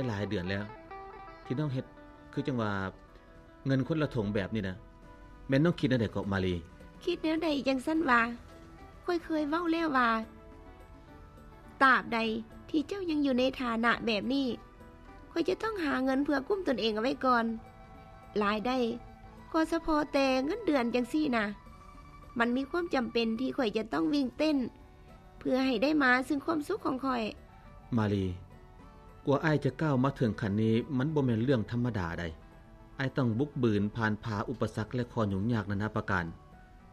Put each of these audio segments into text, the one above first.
ຫຼາຍເດືອນແລ້ວ ທີ່ນ້ອງເຮັດຄືຈັ່ງວ່າເງິນຄົນລະຖົງແບບນີ້ນະ. ແມ່ນນ້ອງຄິດແນວໃດເກາະມາລີ? ຄິດແນວໃດຈັ່ງຊັ້ນຫວາ? ຂ້ອຍເຄີຍເວົ້າແລ້ວວ່າ ຕາບໃດທີ່ເຈົ້າຍັງຢູ່ໃນຖານະແບບນີ້ ຂ້ອຍຈະຕ້ອງຫາເງິນເພື່ອກຸ້ມຕົນເອງເອົາໄວ້ກ່ອນ. ລາຍໄດ້ກໍສະເພາະແຕ່ເງິນເດືອນຈັ່ງຊີ້ນະ ມັນມີຄວາມຈຳເປັນທີ່ຂ້ອຍຈະຕ້ອງວິ່ງເຕັ້ນ ເພື່ອໃຫ້ໄດ້ມາເຊິ່ງຄວາມສຸກຂອງຂ້ອຍ. ມາລີ, ກວ່າອ້າຍຈະກ້າວມາເຖິງຂັ້ນນີ້ ມັນບໍ່ແມ່ນເລື່ອງທຳມະດາໃດ. ອ້າຍຕ້ອງບຸກບືນຜ່ານຜ່າອຸປະສັກ ແລະ ຂໍ້ຫຍຸ້ງຍາກນານາປະການ.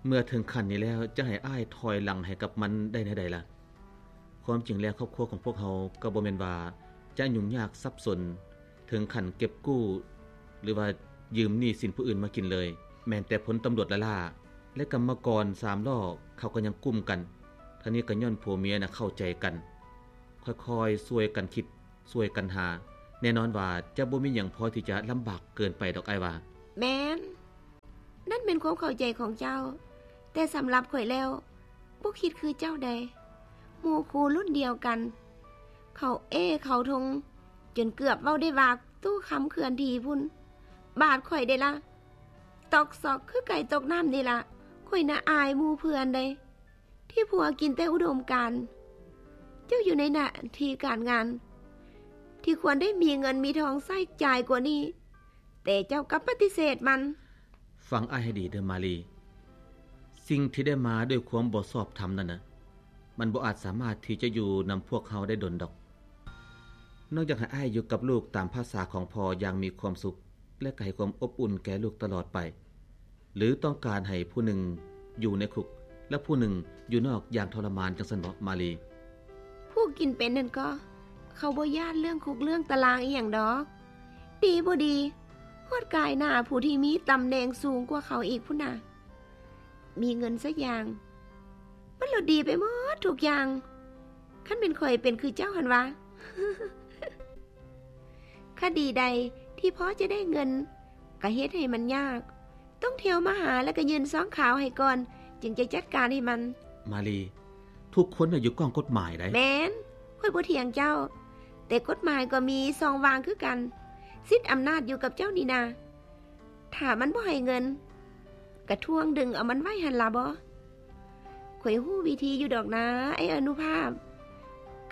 ເມື່ອເຖິງຂັ້ນນີ້ແລ້ວ ຈະໃຫ້ອ້າຍຖອຍຫຼັງໃຫ້ກັບມັນໄດ້ແນວໃດລະ? ຄວາມຈິງແລ້ວ ຄອບຄົວຂອງພວກເຮົາກໍບໍ່ແມ່ນວ່າຈະຫຍຸ້ງຍາກສັບສົນເຖິງຂັ້ນເກັບກູ້ ຫຼືວ່າຢືມໜີ້ສິນຜູ້ອື່ນມາກິນເລີຍ. ແມ່ນແຕ່ພົນຕຳຫຼວດລ້າໆ ແລະ ກຳມະກອນສາມລໍ້ ເຂົາກໍຍັງກຸ້ມກັນ. ທັງນີ້ກໍຍ້ອນຜົວເມຍນະເຂົ້າໃຈກັນ, ຄ່ອຍໆຊ່ວຍກັນຄິດ, ຊ່ວຍກັນຫາ. ແນ່ນອນວ່າຈະບໍ່ມີຫຍັງພໍທີ່ຈະລຳບາກເກີນໄປດອກ ອ້າຍວ່າ. ແມ່ນ. ນັ້ນແມ່ນຄວາມເຂົ້າໃຈຂອງເຈົ້າ, ແຕ່ສຳລັບຂ້ອຍແລ້ວ ບໍ່ຄິດຄືເຈົ້າໃດ. ໝູ່ຄູ່ລຸ້ນດຽວກັນ ເຂົາເອ້ເຂົາທົງ ຈົນເກືອບເວົ້າໄດ້ວ່າຕູ້ຄຳເຄື່ອນທີ່ພຸ້ນ. ບາດຂ້ອຍເດລະ ຕອກຊອກຄືໄກ່ຕົກນ້ຳນີ້ລະ. ຂ້ອຍນະອາຍໝູ່ເພື່ອນໃດ ທີ່ຜົວກິນແຕ່ອຸດົມການ. ເຈົ້າຢູ່ໃນໜ້າທີ່ການງານ ທີ່ຄວນໄດ້ມີເງິນມີທອງໃຊ້ຈ່າຍກວ່ານີ້ ແຕ່ເຈົ້າກັບປະຕິເສດມັນ. ຟັງອ້າຍໃຫ້ດີເດີມາລີ, ສິ່ງທີ່ໄດ້ມາດ້ວຍຄວາມບໍ່ຊອບທຳນັ້ນນະ ມັນບໍ່ອາດສາມາດທີ່ຈະຢູ່ນຳພວກເຮົາໄດ້ດົນດອກ. ນ້ອງຢາກໃຫ້ອ້າຍຢູ່ກັບລູກຕາມພາສາຂອງພໍ່ຢ່າງມີຄວາມສຸກ ແລະ ກໍໃຫ້ຄວາມອົບອຸ່ນແກ່ລູກຕະຫຼອດໄປ. ຫຼືຕ້ອງການໃຫ້ຜູ້ໜຶ່ງຢູ່ໃນຄຸກ ແລະ ຜູ້ໜຶ່ງຢູ່ນອກຢ່າງທໍລະມານ ຈັ່ງຊັ້ນບໍ ມາລີ? ຜູ້ກິນເປັນນັ້ນກໍ ເຂົາບໍ່ຢ້ານເລື່ອງຄຸກເລື່ອງຕາລາງອີ່ຫຍັງດອກ. ດີບໍ່ດີ ຮອດກາຍໜ້າຜູ້ທີ່ມີຕຳແໜ່ງສູງກວ່າເຂົາອີກພຸ້ນນະ. ມີເງິນຊະຢ່າງ ມັນໂລດດີໄປໝົດທຸກຢ່າງ. ຄັນແມ່ນຂ້ອຍເປັນຄືເຈົ້າຫັ້ນຫວາ? ຄະດີໃດທີ່ພໍຈະໄດ້ເງິນ ກະເຮັດໃຫ້ມັນຍາກ, ຕ້ອງທ່ຽວມາຫາ ແລ້ວກະຍື່ນຊອງຂາວໃຫ້ກ່ອນ ຈຶ່ງຈະຈັດການໃຫ້ມັນ. ມາລີ, ທຸກຄົນນະຢູ່ກ້ອງກົດໝາຍໃດ໋. ແມ່ນ, ຂ້ອຍບໍ່ຖຽງເຈົ້າ, ແຕ່ກົດໝາຍກໍມີຊ່ອງວ່າງຄືກັນ. ສິດອຳນາດຢູ່ກັບເຈົ້ານີ້ນາ. ຖ້າມັນບໍ່ໃຫ້ເງິນ ກະທວງດຶງເອົາມັນໄວ້ຫັ້ນລະບໍ? ຂ້ອຍຮູ້ວິທີຢູ່ດອກນາ ໄອ້ອະນຸພາບ.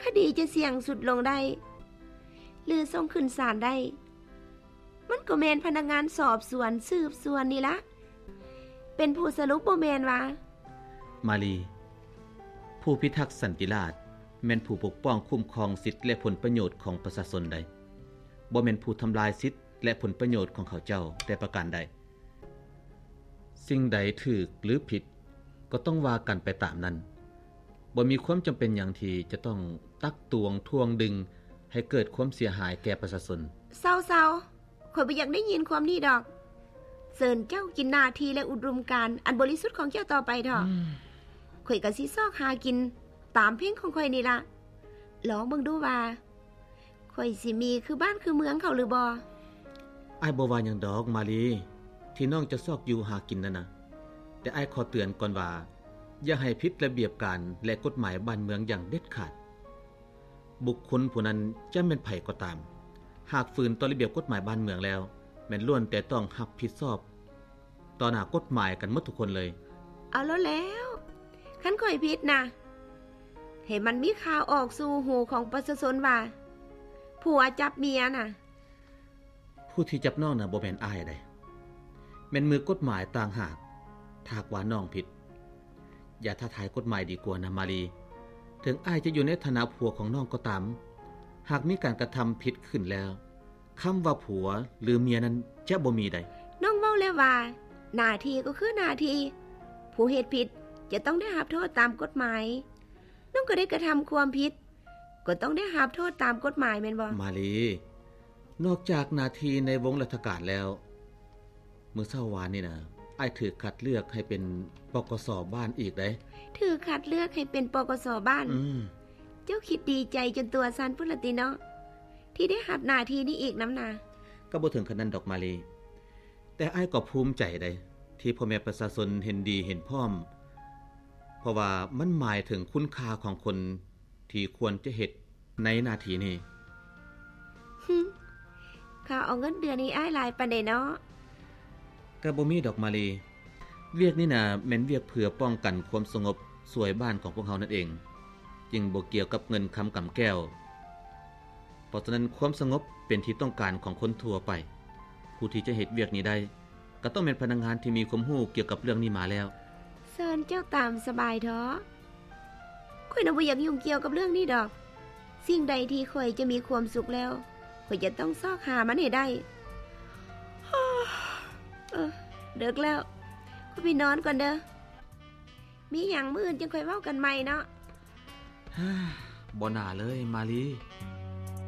ຄະດີຈະສ່ຽງສຸດລົງໄດ້ ຫຼືສົ່ງຂຶ້ນສານໄດ້ ມັນກໍແມ່ນພະນັກງານສອບສວນສືບສວນນີ້ລະ ເປັນຜູ້ສະຫຼຸບບໍ່ແມ່ນຫວາ? ມາລີ, ຜູ້ພິທັກສັນຕິລາດ ແມ່ນຜູ້ປົກປ້ອງຄຸ້ມຄອງສິດ ແລະ ຜົນປະໂຫຍດຂອງປະຊາຊົນໃດ໋, ບໍ່ແມ່ນຜູ້ທຳລາຍສິດ ແລະ ຜົນປະໂຫຍດຂອງເຂົາເຈົ້າແຕ່ປະການໃດ. ສິ່ງໃດຖືກ ຫຼື ຜິດ ກໍຕ້ອງວ່າກັນໄປຕາມນັ້ນ. ບໍ່ມີຄວາມຈຳເປັນຫຍັງທີ່ຈະຕ້ອງຕັກຕວງທວງດຶງໃຫ້ເກີດຄວາມເສຍຫາຍແກ່ປະຊາຊົນ. ເຊົາໆ, ຂ້ອຍບໍ່ຢາກໄດ້ຍິນຄວາມນີ້ດອກ. ເຊີນເຈົ້າກິນໜ້າທີ່ ແລະ ອຸດົມການອັນບໍລິສຸດຂອງເຈົ້າຕໍ່ໄປເຖາະ. ຂ້ອຍກໍຊິຊອກຫາກິນຕາມເພງຂອງຂ້ອຍນີ້ລະ. ລອງເບິ່ງດູວ່າ ຂ້ອຍຊິມີຄືບ້ານຄືເມືອງເຂົາຫຼືບໍ່? ອ້າຍບໍ່ວ່າຫຍັງດອກມາລີ ທີ່ນ້ອງຈະຊອກຢູ່ຫາກິນນັ້ນນະ, ແຕ່ອ້າຍຂໍເຕືອນກ່ອນວ່າ ຢ່າໃຫ້ຜິດລະບຽບການ ແລະ ກົດໝາຍບ້ານເມືອງຢ່າງເດັດຂາດ. ບຸກຄົນຜູ້ນັ້ນຈະແມ່ນໃຜກໍຕາມ, ຫາກຝືນຕໍ່ລະບຽບກົດໝາຍບ້ານເມືອງແລ້ວ ແມ່ນລ້ວນແຕ່ຕ້ອງຮັບຜິດຊອບ ຕໍ່ໜ້າກົດໝາຍກັນໝົດທຸກຄົນເລີຍ. ເອົາແລ້ວແລ້ວ, ຄັນຂ້ອຍຜິດນະ ໃຫ້ມັນມີຂ່າວອອກສູ່ຫູຂອງປະຊາຊົນວ່າ ຜົວຈັບເມຍນະ. ຜູ້ທີ່ຈັບນ້ອງນະບໍ່ແມ່ນອ້າຍໃດ໋, ແມ່ນມືກົດໝາຍຕ່າງຫາກ. ຖ້າຫາກວ່ານ້ອງຜິດ, ຢ່າທ້າທາຍກົດໝາຍດີກວ່ານະມາລີ. ເຖິງອ້າຍຈະຢູ່ໃນຖານະຜົວຂອງນ້ອງກໍຕາມ, ຫາກມີການກະທຳຜິດຂຶ້ນແລ້ວ, ຄຳວ່າຜົວ ຫຼື ເມຍນັ້ນຈະບໍ່ມີໃດ໋. ນ້ອງເວົ້າແລ້ວວ່າ ໜ້າທີ່ກໍຄືໜ້າທີ່, ຜູ້ເຮັດຜິດຈະຕ້ອງໄດ້ຮັບໂທດຕາມກົດໝາຍ. ນ້ອງກໍໄດ້ກະທຳຄວາມຜິດ, ກໍຕ້ອງໄດ້ຮັບໂທດຕາມກົດໝາຍແມ່ນບໍ່? ມາລີ, ນອກຈາກໜ້າທີ່ໃນວົງລັດຖະການແລ້ວ, ມື້ເຊົ້າວານນີ້ນະ ອ້າຍຖືກຄັດເລືອກໃຫ້ເປັນ ປກສ ບ້ານອີກໃດ໋. ຖືກຄັດເລືອກໃຫ້ເປັນ ປກສ ບ້ານ? ອືມ. ເຈົ້າຄິດດີໃຈຈົນຕົວສັ່ນພຸ້ນລະຕິເນາະ ທີ່ໄດ້ຮັບໜ້າທີ່ນີ້ອີກນຳນາ? ກໍບໍ່ເຖິງຂະໜາດນັ້ນດອກມາລີ, ແຕ່ອ້າຍກໍພູມໃຈໃດ໋ ທີ່ພໍ່ແມ່ປະຊາຊົນເຫັນດີເຫັນພ້ອມ, ເພາະວ່າມັນໝາຍເຖິງຄຸນຄ່າຂອງຄົນທີ່ຄວນຈະເຮັດໃນໜ້າທີ່ນີ້. ເຂົາເອົາເງິນເດືອນໃຫ້ອ້າຍຫຼາຍປານໃດເນາະ? ກໍບໍ່ມີດອກມາລີ. ວຽກນີ້ນະແມ່ນວຽກເພື່ອປ້ອງກັນຄວາມສະຫງົບຊ່ວຍບ້ານຂອງພວກເຮົານັ້ນເອງ, ຈຶ່ງບໍ່ກ່ຽວກັບເງິນຄຳກຳແກ້ວ. ເພາະສະນັ້ນຄວາມສະຫງົບເປັນທີ່ຕ້ອງການຂອງຄົນທົ່ວໄປ. ຜູ້ທີ່ຈະເຮັດວຽກນີ້ໄດ້ ກໍຕ້ອງແມ່ນພະນັກງານທີ່ມີຄວາມຮູ້ກ່ຽວກັບເລື່ອງນີ້ມາແລ້ວ. ເຊີນເຈົ້າຕາມສະບາຍເຖາະ. ຂ້ອຍນະບໍ່ຢາກຫຍຸ້ງກ່ຽວກັບເລື່ອງນີ້ດອກ. ສິ່ງໃດທີ່ຂ້ອຍຈະມີຄວາມສຸກແລ້ວ, ຂ້ອຍຈະຕ້ອງຊອກຫາມັນໃຫ້ໄດ້. ເອີ, ເດິກແລ້ວ, ຂ້ອຍໄປນອນກ່ອນເດີ້. ມີຫຍັງມື້ອື່ນຈຶ່ງຄ່ອຍເວົ້າກັນໃໝ່ເນາະ. ບໍ່ໜ້າເລີຍ ມາລີ.